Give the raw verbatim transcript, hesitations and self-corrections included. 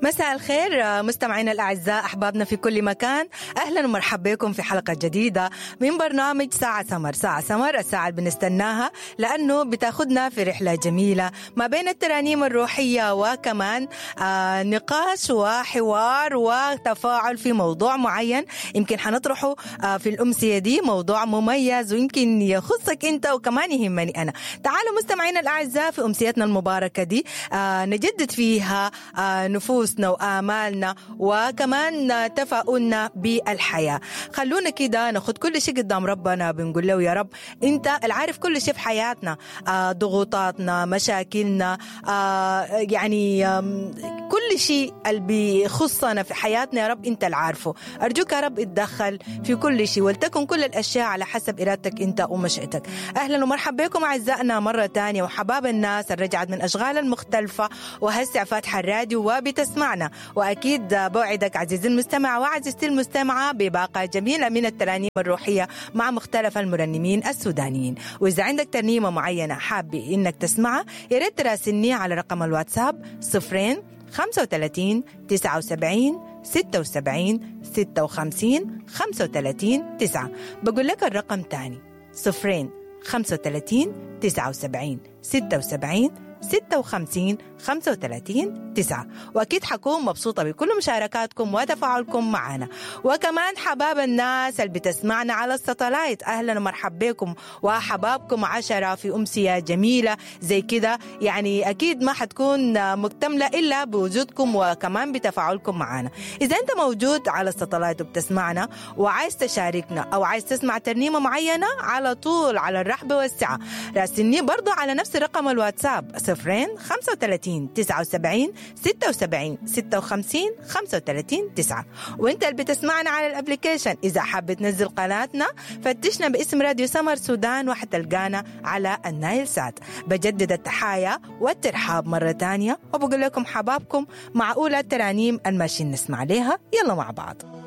مساء الخير مستمعينا الأعزاء، أحبابنا في كل مكان، أهلا ومرحبا بكم في حلقة جديدة من برنامج ساعة سمر. ساعة سمر الساعة اللي بنستناها لأنه بتاخدنا في رحلة جميلة ما بين الترانيم الروحية وكمان آه نقاش وحوار وتفاعل في موضوع معين يمكن حنطرحه آه في الأمسية دي، موضوع مميز ويمكن يخصك أنت وكمان يهمني أنا. تعالوا مستمعينا الأعزاء في أمسيتنا المباركة دي آه نجدد فيها آه نفوسنا وآمالنا وكمان تفاؤلنا بالحياة. خلونا كده ناخد كل شيء قدام ربنا، بنقول له يا رب انت العارف كل شيء في حياتنا، آه ضغوطاتنا، مشاكلنا، آه يعني آه كل شيء اللي بيخصنا في حياتنا يا رب انت العارفه. أرجوك يا رب اتدخل في كل شيء ولتكن كل الأشياء على حسب إرادتك انت ومشيئتك. أهلا ومرحبا بكم أعزائنا مرة تانية وحباب الناس اللي رجعت من أشغال المختلفة وهسع فاتحة الراديو وبتسمعنا، وأكيد بوعدك عزيزي المستمع وعزيزتي المستمعة بباقة جميلة من الترانيم الروحية مع مختلف المرنمين السودانيين. وإذا عندك ترنيمة معينة حابة إنك تسمعها يا ريت تراسلني على رقم الواتساب صفرين خمسة وثلاثين تسعة وسبعين ستة وسبعين ستة وخمسين خمسة وثلاثين تسعة. بقول لك الرقم تاني صفرين خمسة وثلاثين تسعة وسبعين ستة وسبعين ستة وخمسين خمسة وثلاثين تسعة. وأكيد حكون مبسوطة بكل مشاركاتكم وتفاعلكم معنا. وكمان حباب الناس اللي بتسمعنا على الستلايت، أهلا ومرحبا بكم وحبابكم عشرة في أمسية جميلة زي كده، يعني أكيد ما حتكون مكتملة إلا بوجودكم وكمان بتفاعلكم معنا. إذا أنت موجود على الستلايت وبتسمعنا وعايز تشاركنا أو عايز تسمع ترنيمة معينة، على طول على الرحب والسعة راسلني برضو على نفس رقم الواتساب صفرين خمسة وثلاثين تسعة وسبعين ستة وسبعين ستة وخمسين خمسة وثلاثين تسعة. وانت اللي بتسمعنا على ال application إذا حابب تنزل قناتنا فتشنا باسم راديو سمر سودان وحتلقانا على النايل سات. بجدد التحايا والترحاب مرة تانية وبقول لكم حبابكم مع أولى الترانيم الماشيين نسمع ليها، يلا مع بعض.